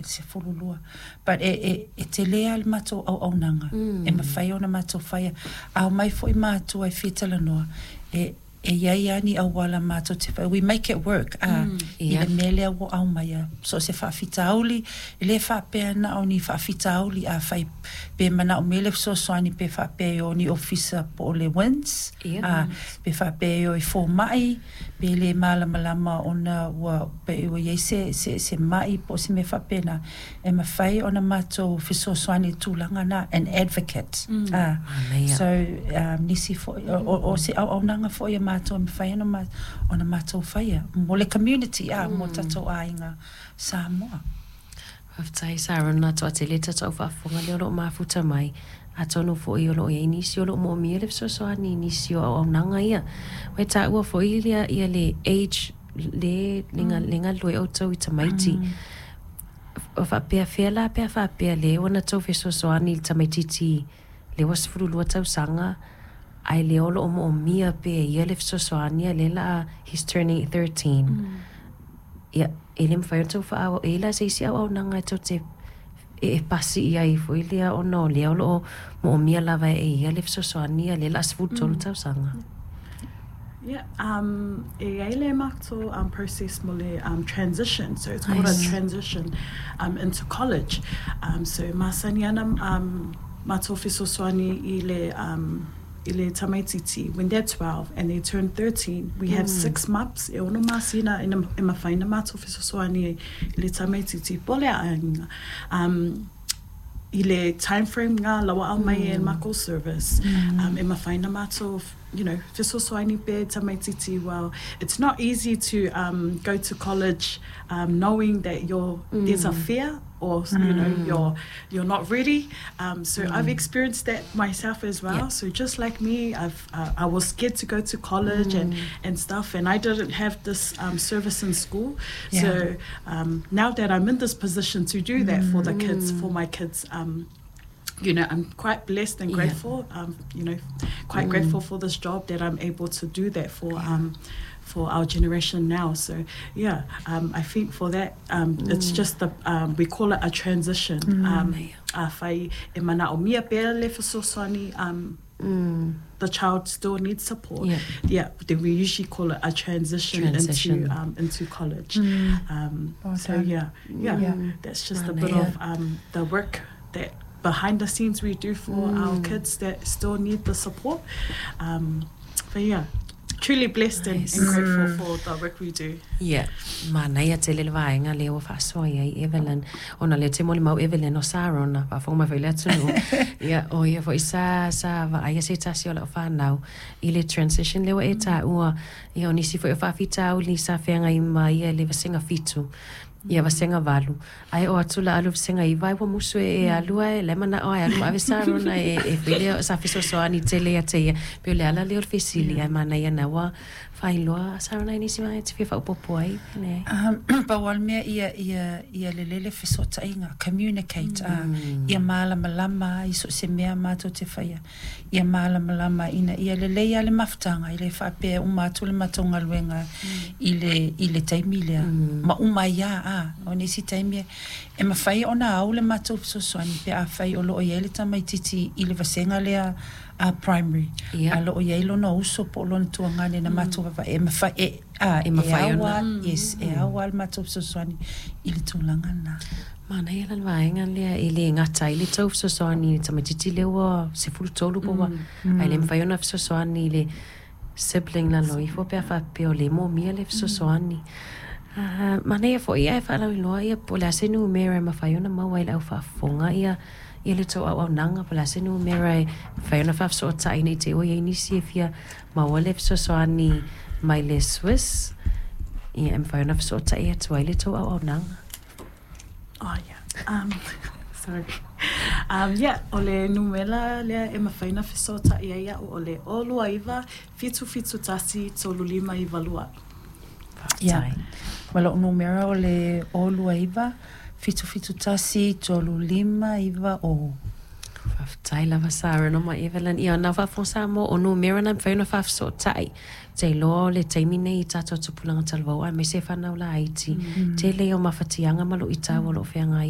le 12. But e, e, e tele lava le matou auaunaga e mafai ona matou faia. A omai foi matua e fia talanoa, e, e i ai lava ni auala matou te faia, we make it work, a, i le mea lea ua aumaia. So o se faafitauli, e le faapea na o ni faafitauli afai pe manaomia le fesoasoani pe faapea e o ni ofisa po o le WINZ, a, pe faapea e o i fomai, pe le malamalama ona ua pe ua i ai se, se, se mai po o se mea faapena, e mafai ona matou fesoasoani i le tulaga lena, an advocate. A, so, nisi foi, o, o se auaunaga foi a matou e mafai ona, ona matou faia mo le community, a, mo tatou aiga Samoa. Faafetai Sarah, toatele tatou faafofoga lea o lo o mafuta mai. Atonu foi o lo o i ai nisi o lo o moomia le fesoasoani i nisi o auaunaga ia. Ua e taua foi lea ia le age le le galulue outou i tamaiti. O faapea fea la pe a faapea lea ua na tou fesoasoani i le tamaitiiti lea ua 12 tausaga ae lea o lo o moomia pea e ia le fesoasoani a lea o le a he's turning 13. Ia, e le mafai ona tou faaauau e i ai la se isi auaunaga e tou te e pasi i ai foi lea ona o lea o lo o moomia lava e ia le fesoasoani a lea o le a 13 tausaga. Yeah, e i ai le matou process mo le transition. So it's called a transition into college. So e masani ana matou fesoasoani i le i le tamaitiiti when they're 12 and they turn 13, we have 6 months, e 6 masina e mafai ona matou fesoasoani i le tamaitiiti po o le aiga i le time frame ngā lawa au mai e makou service e mafai ona matou fesoasoani pea tamaitiiti. Well, it's not easy to go to college knowing that you're there's a fear or you're not ready. So I've experienced that myself as well. So just like me, I was scared to go to college and stuff, and I didn't have this service in school. So now that I'm in this position to do that for the kids, for my kids, I'm quite blessed and grateful. Quite grateful for this job that I'm able to do that for our generation now. So yeah, I think for that, it's just the we call it a transition. Afai e manaomia pea le fesoasoani, the child still needs support. Yeah, then we usually call it a transition, Transition. into college. Well So done. yeah, that's just a bit of the work that behind the scenes we do for our kids that still need the support. But yeah, truly blessed and grateful for the work we do. Ia, manaia tele le vaega lea ua faasoa i ai Evelyn. Ona lea te molimau Evelyn o Sarona, faafofoga mai foi le atunuu. Ia, o ia foi sa vaaia se tasi o lau whanau i le transition lea ua e taua. Ia, o nisi foi o faafitauli sa feagai ma ia le vasega 7. Ia vasega 8. Ae oo atu la alu vasega 9 ai ua musu e alu ae le manao ai alu ma ave Sarona e foi lea sa fesoasoani tele ia te ia. Pe o le ala lea o le fesili ae manaia na ua faailoa Sarona i nisi vaega e te fia faaopoopo ai. Leai. Pau lava le mea ia lelei le fesootaiga, communicate, ia malamalama i so o se mea matou te faia, ia malamalama ina ia lelei lava le mafutaga e le faapea e uma atu le matou galuega i le taimi lea ma uma ai lava. A o nisi taimi e mafai ona au le matou fesoasoani pe afai o loo i ai le tamaitiiti i le vasega lea a primary a loo i ai lona uso po o lona tuagane na matou vaavaai e mafai e a E mafai e ona. Ao yes, e ao lava le matou fesoasoani i le tulaga lena. Manaia la le vaega lea e le gata ai le tou fesoasoani i le tamaitiiti lea ua 13 po ua ae le mafai ona fesoasoani i le sibling lalo ifo pe a faapea o le moomia le fesoasoani. Manaia foi ae faalauiloa ia po o le a se numera e mafai ona maua ai le au faafofoga ia le tou auaunaga po o le a se numera e mafai ona faafesootai nei te i ua i ai nisi e fia maua le fesoasoani mai le SWIS ia e mafai ona fesootai atu ai le tou auaunaga. Oh yeah. Sorry. Yeah, o le numera lea e mafai ona fesootai ai au o le 029 771 3592. Ia. Ma lou numera o le 029 771 3590. Faafetai lava Sarona ma Evelyn. Ia na faafofoga Samoa o numera na mafai ona faafesootai. Te iloa o le taimi nei i tatou tupulaga talavou aemaise whanau laiti. Tele o mafatiaga ma luitau o loo feagai.